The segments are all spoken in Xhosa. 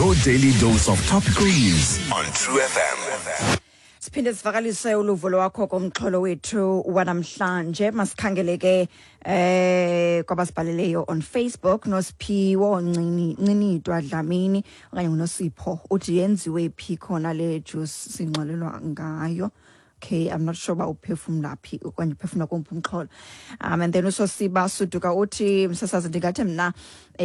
Your daily dose of topical news on True FM. Siphinde sivakalise uluvo lwakho komxholo wethu wanamhlanje. Masikhangele ke kwabasibhaleleyo on Facebook. Nosiphiwo Ncinitwa Dlamini okanye nguNosipho uthi yenziwe phi khona le juice singxolelwa ngayo? Okay, I'm not sure uba uphefumla phi okanye uphefumla komphi umxholo. And then uSosiba Suduka uthi, msasazi, ndingathi mna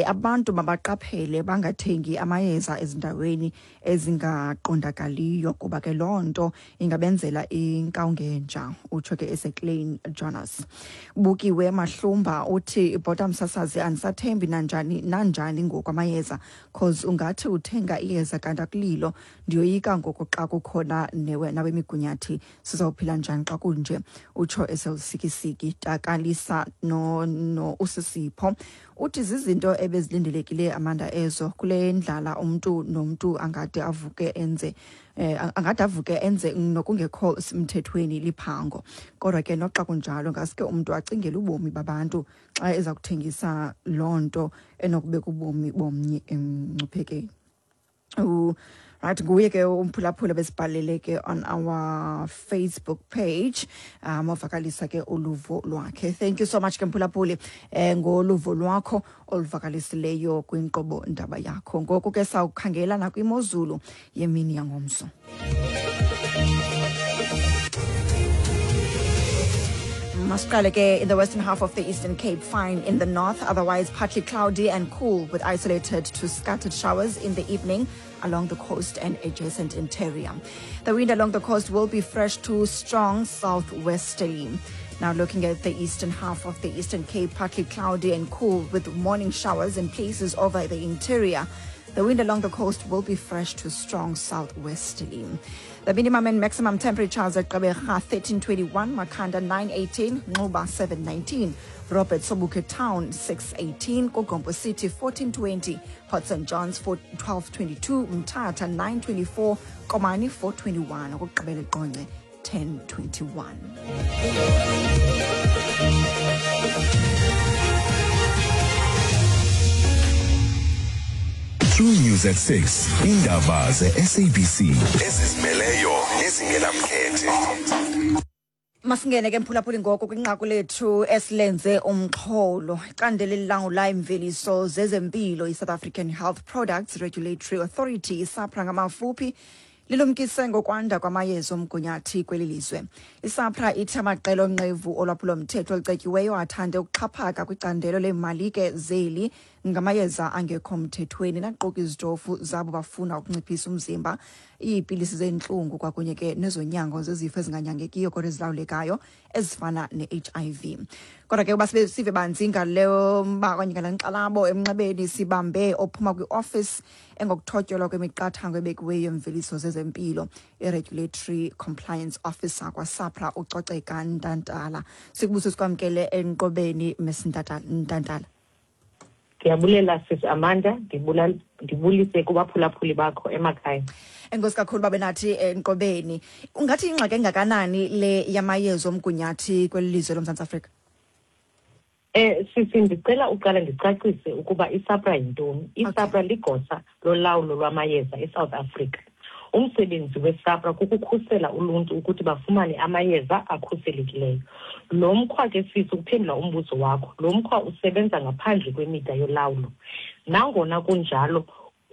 abantu mabaqaphele bangathengi amayeza ezindaweni ezingaqondakaliyo, kuba ke loo nto ingabenzela inkawungenja, utsho ke eseKlein Jonas. Bukiwe Mahlumba uthi, ibhota msasazi, andisathembi nanjani nanjani ngoku amayeza, cause ungathi uthenga iyeza kanti akulilo. Ndiyoyika ngoku xa kukhona nabemigunyathi, sizawuphila njani xa kunje, utsho eselusikisiki. Takalisa no usisipho uthi zizinto ebezilindelekile Amanda ezo kule ndlala, umntu nomntu angade avuke enze angade avuke enze nokungekho mthethweni liphango. Kodwa ke noxa kunjalo, ngaske umntu acingele ubomi babantu xa eza kuthengisa loo nto enokubeka ubomi bomnye emngciphekweni. Right, nguye ke umphulaphula besibhalele ke on our Facebook page, ovakalisa ke uluvo lwakhe. Thank you so much ke mphulaphuli ngoluvo lwakho oluvakalisileyo kwinkqubo ndaba yakho. Ngoku ke sawukhangela nakwimozulu yemini yangomso. Masiqale ke in the western half of the Eastern Cape, fine in the north, otherwise partly cloudy and cool with isolated to scattered showers in the evening along the coast and adjacent interior. The wind along the coast will be fresh to strong southwesterly. Now looking at the eastern half of the Eastern Cape, partly cloudy and cool with morning showers in places over the interior. The wind along the coast will be fresh to strong southwesterly. The minimum and maximum temperatures at Gqeberha 1321, Makhanda 918, Nxuba 719, Robert Sobukwe Town 618, KuGompo City 1420, Port St Johns 1222, Mthatha 924, Komani 421, okokugqibela eQonce 1021. True News at 6. Indaba ze-SABC ezizimeleyo nezingenamkhethe. Masingene ke mphulaphuli ngoku kwinqaku lethu esilenze umxholo. Icandelo elilawula imveliso zezempilo, i-South African Health Products Regulatory Authority, iSAPRA ngamafuphi, lilumkise ngokwanda kwamayeza omgunyathi kweli lizwe. ISAPRA ithi amaqela onqevu olwaphulomthetho olucetyiweyo athande ukuxhaphaka kwicandelo leemalike zeli ngamayeza angekho mthethweni, naquka izitofu zabo bafuna ukunciphisa umzimba, iipilisi zentlungu, kwakunye ke nezonyango zezifo ezinganyangekiyo kodwa ezilawulekayo ezifana ne-HIV. Kodwa ke uba sive banzi ngaleyo mba okanye ngale nkxalabo emnxebeni, sibambe ophuma kwi-office engokuthotyelwa kwemiqathango ebekiweyo yemveliso zezempilo, i-Regulatory Compliance Officer kwaSAPRA, uCoceka Ntantala. Sikubuso sikwamkele enkqubeni, Miss Ntantala. Ndiyabulela, sis Amanda, ndibulise kubaphulaphuli bakho emakhaya. Enkosi kakhulu babe nathi enkqubeni. Ungathi ingxaki engakanani le yamayeza omgunyathi kweli lizwe loMzantsi Afrika? Sisi, ndicela uqala ndicacise ukuba iSAPRA yintoni. ISAPRA ligosa lolawulo lwamayeza eSouth Africa. Umsebenzi weSAPRA kukukhusela uluntu ukuthi bafumane amayeza akhuselekileyo. Lo mkhwa ke, sisi, ukuphendula umbuzo wakho, lo mkhwa usebenza ngaphandle kwemida yolawulo. Nangona kunjalo,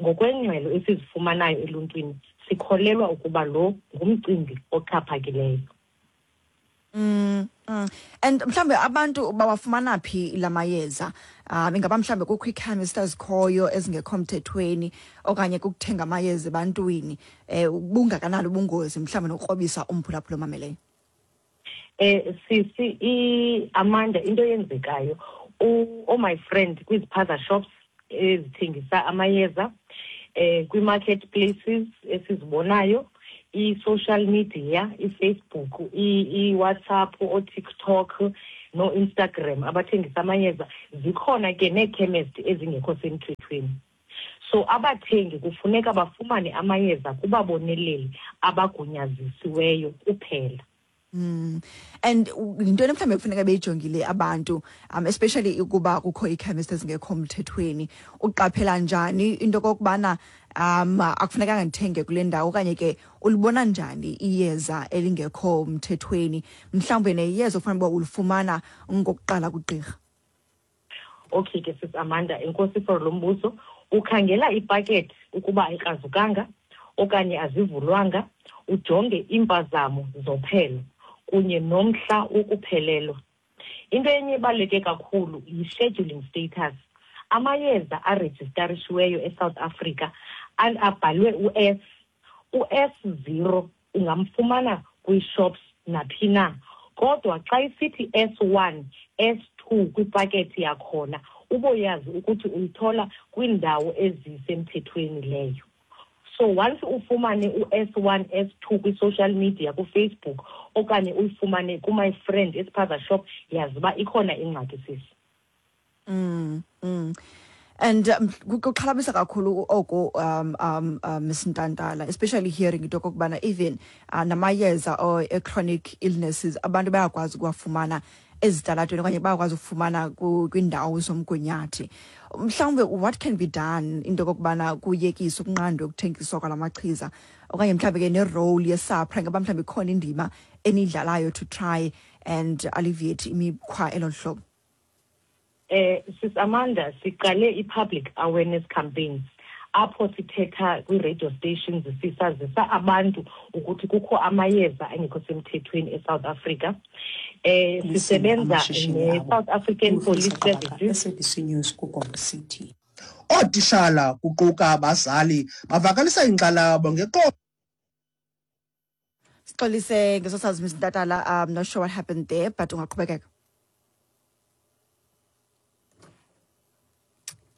ngokwengxelo esizifumanayo eluntwini, sikholelwa ukuba lo ngumcimbi oxhaphakileyo. And mhlambe abantu bawafumana phi lamayeza? Ingaba mhlambe kukho ii-chemist ezikhoyo ezingekho mthethweni okanye kukuthenga amayeza ebantwini? Bungakanani ubungozi mhlambe nokukrobisa umphulaphula omameleyo? Sisi Amanda, into eyenzekayo, oh my friend, kwiziphaza shops ezithengisa amayeza, kwi-market places esizibonayo, i-social media, i-Facebook, i-WhatsApp, o-TikTok no-Instagram abathengisa amayeza, zikhona ke nee-chemist ezingekho semthethweni. So abathengi kufuneka bafumane amayeza kubaboneleli abagunyazisiweyo kuphela. And yintoni mhlawumbi ekufuneka beyijongile abantu, especially ukuba kukho ii-chemist ezingekho mthethweni? Uqaphela njani into okokubana akufunekanga ndithenge kule ndawo, okanye ke ulibona njani iyeza elingekho mthethweni, mhlawumbi neyeza ofanele uba ulifumana ngokuqala kugqirha? Okay ke, sis Amanda, enkosi for lo mbuzo. Ukhangela ipakethi ukuba ayikrazukanga okanye azivulwanga, ujonge iimpazamo zophelo kunye nomhla wokuphelelwa. Into enye ebaluleke kakhulu yi-scheduling status. Amayeza arejistarishiweyo eSouth Africa abhalwe u-S, u-S0 ungamfumana kwii-shops naphi na, kodwa xa isithi S1, S2 kwipakethi yakhona, uboyazi ukuthi uyithola kwiindawo ezisemthethweni leyo. So once ufumane u-S1, S2 kwi-social media, kuFacebook, okanye uyifumane ku-my friend espaza shop, yazi uba ikhona ingxaki, sisi. And kuxhalabisa kakhulu oku, Ms Ntantala, especially hearing into okokubana even namayeza or chronic illnesses abantu bayakwazi ukuwafumana ezitalatweni okanye bayakwazi ukufumana kwiindawo zomgunyathi. Mhlawumbe what can be done into okokubana kuyekiswe, ukunqandwe ukuthengiswa kwala machiza, okanye mhlawumbe ke ne-role yeSAHPRA, ngaba mhlawumbe ikhona indima eniyidlalayo to try and alleviate imikhwa elo hlobo? Sis Amanda, siqale i-public awareness campaigns apho sithetha kwi-radio stations, sisazisa abantu ukuthi kukho amayeza angekho semthethweni eSouth Africa. Sisebenza ne-South African Police Services. SABC News kuGombe City. Ootishala kuquka abazali bavakalisa inkxalabo ngeqondo. Sixolise ngesosazi, Ms Ntatala. I'm not sure what happened there, but ungaqhubekeka.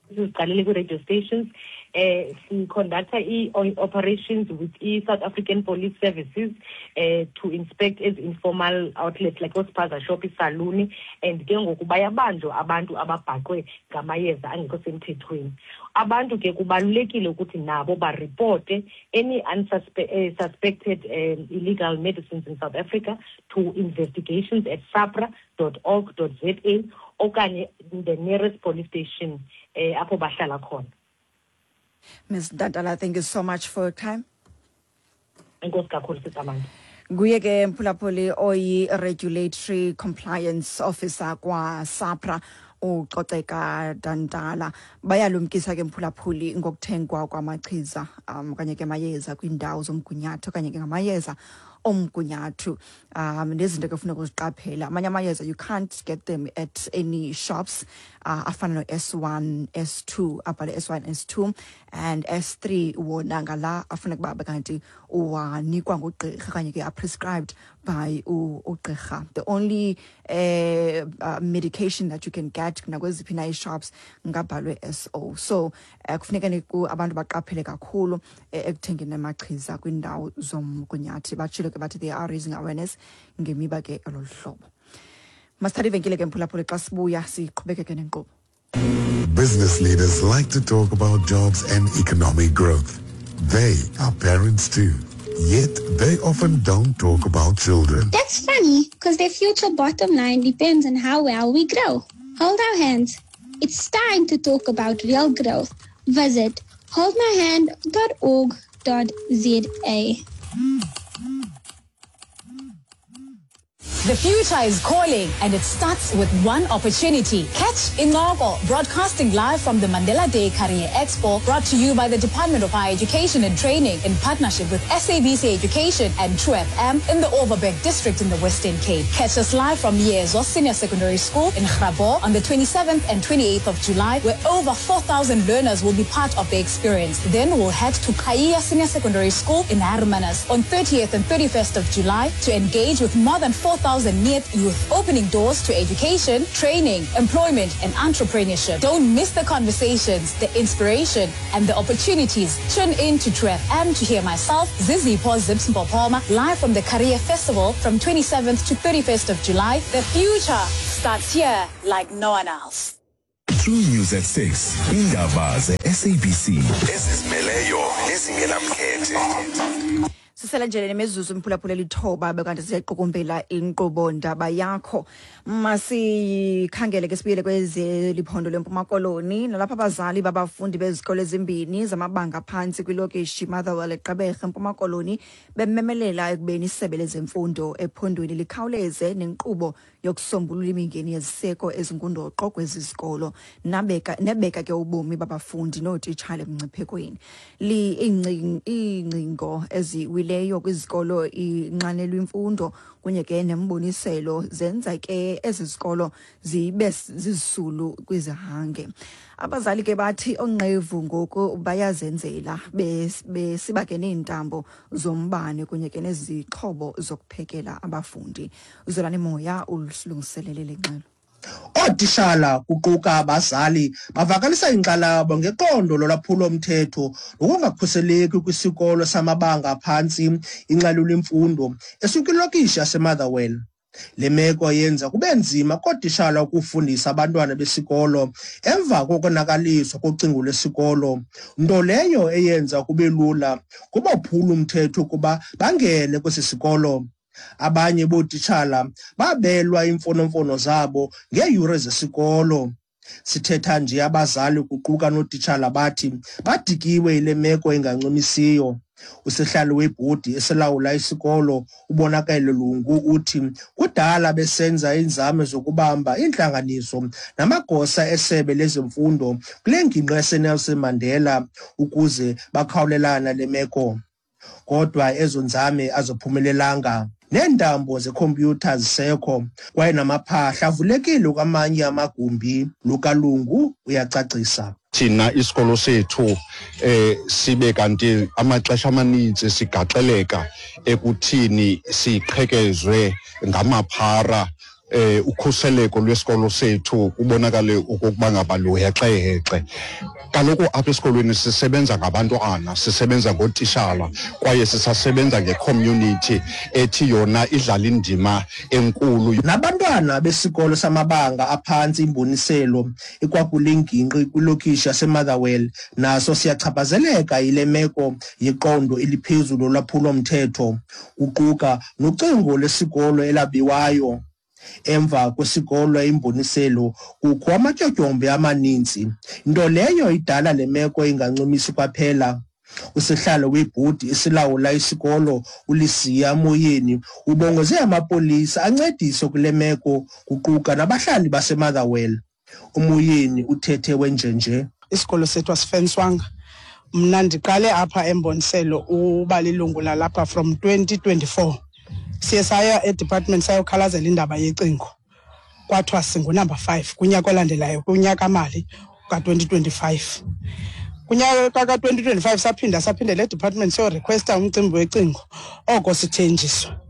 Siziqalele kwi-radio stations, si-conducta i-operations with i-South African Police Services to inspect ezi informal outlets like oospaza shop, isaluni, and ke ngoku bayabanjwa abantu ababhaqwe ngamayeza angekho semthethweni. Abantu ke kubalulekile ukuthi nabo baripote any suspected illegal medicines in South Africa to investigations@sahpra.org.za okanye the nearest police station apho bahlala khona. Ms Ntantala, thank you so much for your time. Enkosi kakhulu, sis Amanda. Nguye ke, mphulaphuli, oyi-regulatory compliance officer kwaSAHPRA, uCoceka Dantala. Bayalumkisa ke, mphulaphuli, ngokuthengwa kwamachiza okanye ke amayeza kwiindawo zomgunyathi okanye ke ngamayeza omgunyathu, nezinto ke funeka uziqaphela. Amanye amayeza you can't get them at any shops, afana no-S1, S2, abhale S1, S2 and S3. Wona ngala afuneka uba kanti uwanikwa ngugqirha okanye ke are prescribed by ugqirha. The only medication that you can get nakweziphi na ii-shops ngabhalwe SO. So kufuneka abantu baqaphele kakhulu ekuthengeni amachiza kwiindawo zomgunyathi. Batshilo ke bathi they are raising awareness ngemiba ke elo hlobo. Masithathe ivenkile ke, mphulaphuli. Xa sibuya siqhubekeke nenkqubo. Business leaders like to talk about jobs and economic growth. They are parents too. Yet they often don't talk about children. That's funny, because their future bottom line depends on how well we grow. Hold our hands. It's time to talk about real growth. Visit holdmyhand.org.za. The future is calling, and it starts with one opportunity. Catch Incoko, broadcasting live from the Mandela Day Career Expo, brought to you by the Department of Higher Education and Training in partnership with SABC Education and True FM in the Overberg District in the Western Cape. Catch us live from Yezo Senior Secondary School in Grabouw on the 27th and 28th of July, where over 4,000 learners will be part of the experience. Then we'll head to Qhayiya Senior Secondary School in Hermanus on 30th and 31st of July to engage with more than 4,000 NEET youth, opening doors to education, training, employment, and entrepreneurship. Don't miss the conversations, the inspiration, and the opportunities. Tune in to True FM to hear myself, Zizipho Zips Mpopoma, live from the Career Festival from 27th to 31st of July. The future starts here like no one else. True News at 6. Indaba ze-SABC ezizimeleyo nezingenamkhethe. Sisele nje nemizuzu, mphulaphula, 9, bekanti siyaqukumbela inkqubo ndaba yakho. Masikhangele ke, sibuyele kwezeliphondo leMpuma Koloni, nalapha abazali babafundi bezikolo ezimbini zamabanga phantsi kwilokishi Motherwell eGqeberha, eMpuma Koloni, bememelela ekubeni isebe lezemfundo ephondweni likhawuleze nenkqubo yokusombulula imingeni yeziseko ezingundoqo kwezi zikolo nabeka nebeka ke ubomi babafundi nootitshala emngciphekweni. Iingcingo eziwileyo kwizikolo inxanelwa imfundo kunye ke nemboniselo zenza ke ezi zikolo zibe zizisulu kwizihange. Abazali ke bathi onqevu ngoku bayazenzela, besiba ke neentambo zombane kunye ke nezixhobo zokuphekela abafundi. Uzolani Moya usilungiselele le ngxelo. Ootishala kuquka abazali bavakalisa inkxalabo ngeqondo lolwaphulo-mthetho nokungakhuseleki kwisikolo samabanga aphantsi iNxalula Imfundo esikwilokishi yaseMotherwell. Le meko yenza kube nzima kootishala ukufundisa abantwana besikolo emva kokonakaliswa kocingo lwesikolo, nto leyo eyenza kube lula kubophula-mthetho ukuba bangene kwesi sikolo. Abanye bootitshala babelwa iimfonomfono zabo ngeeyure zesikolo. Sithetha nje abazali kuquka nootitshala bathi badikiwe yile meko ingancumisiyo. Usihlalo webhodi esilawula isikolo, uBonakele Lungu, uthi kudala besenza iinzame zokubamba iintlanganiso namagosa esebe lezemfundo kule ngingqi yaseNelson Mandela ukuze bakhawulelana le meko, kodwa ezo nzame aziphumelelanga. Neentambo zekhompyutha zisekho kwaye namaphahla avulekile kwamanye amagumbi. Lukalungu uyacacisa. Thina isikolo sethu sibe kanti amaxesha amaninzi sigaxeleka ekuthini siqhekezwe ngamaphara. Ukhuseleko lwesikolo sethu kubonakale okokuba ngaba luhexehexe. Kaloku apha esikolweni sisebenza ngabantwana, sisebenza ngootishala, kwaye sisasebenza ngecommunity ethi yona idlala indima enkulu. Nabantwana besikolo samabanga aphantsi Imboniselo ekwakule ngingqi kwilokishi yaseMotherwell naso siyachaphazeleka yile meko yeqondo eliphezulu lolwaphulo-mthetho, kuquka nocingo lwesikolo elabiwayo. Emva kwesikolo Imboniselo kukho amatyotyombe amaninzi, nto leyo idala le meko ingancumisi kwaphela. Usihlalo webhodi esilawula isikolo, uLisiya Moyeni, ubongoze amapolisa ancedise kule meko kuquka nabahlali baseMotherwell. UMoyeni uthethe wenjenje: Isikolo sethu asifenswanga. Mna ndiqale apha eMboniselo uba lilungu lalapha from 2024. Siye saya edepartment sayokhalazela indaba yecingo, kwathiwa singunumber 5 kunyaka olandelayo, kunyaka mali ka-2025. Kunyaka ka-2025 saphinda saphindela edepartment siyorequesta umcimbi wecingo, oko sithenjiswa.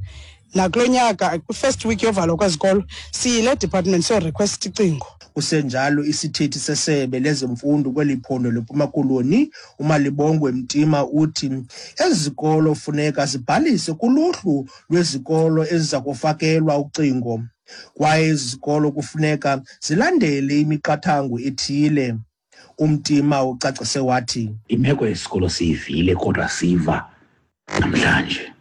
Nakulo nyaka kwi-first week yovalwa kwezikolo siyile department siyorequest icingo. Kusenjalo, isithethi sesebe lezemfundo kweli phondo leMpuma Koloni, uMalibongwe Mtima, uthi ezi zikolo funeka zibhalise kuluhlu lwezikolo eziza kufakelwa ucingo, kwaye ezi zikolo kufuneka zilandele imiqathango ethile. UMtima ucacise wathi: Imeko yesikolo siyivile, kodwa siva namhlanje.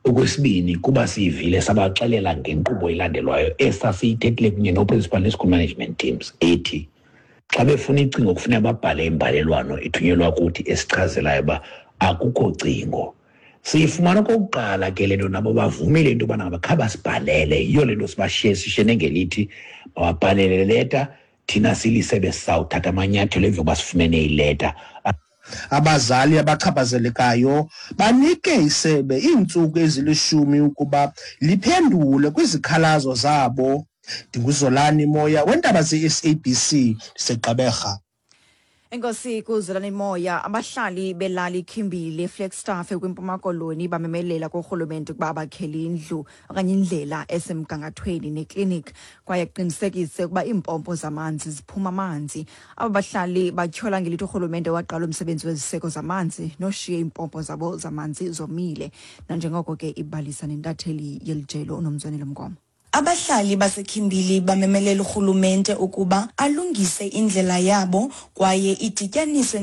Okwesibini, kuba siyivile sabaxelela ngenkqubo elandelwayo esasiyithethile kunye noprincipal ne-school management teams ethi xa befuna icingo kufuneka babhale imbalelwano ethunyelwa kuthi esichazelayo uba akukho cingo. Siyifumana okokuqala ke le nto, nabo bavumile into yobana ngaba kha basibhalele. Yiyo le nto sibashiye sishene ngelithi mababhalele le leta, thina silisebe sizawuthatha amanyathelo emva kokuba sifumene ileta. Abazali abachaphazelekayo banike isebe iintsuku ezili-10 ukuba liphendule kwizikhalazo zabo. NdinguZolani Moya wendaba ze-SABC, ndiseGqeberha. Enkosi kuZolani Moya. Abahlali belali Khimbili, Flagstaff, kwiMpuma Koloni bamemelela kurhulumente ukuba abakhele indlu okanye indlela esemgangathweni neklinik, kwaye kuqinisekise ukuba iimpompo zamanzi ziphuma amanzi. Aba bahlali batyhola ngelithi urhulumente waqala umsebenzi weziseko zamanzi noshiye iimpompo zabo zamanzi zomile, nanjengoko ke ibalisa nentatheli yelijelo uNomzwanelo Mngoma. Abahlali baseKhimbili bamemelela urhulumente ukuba alungise indlela yabo kwaye idityaniswe.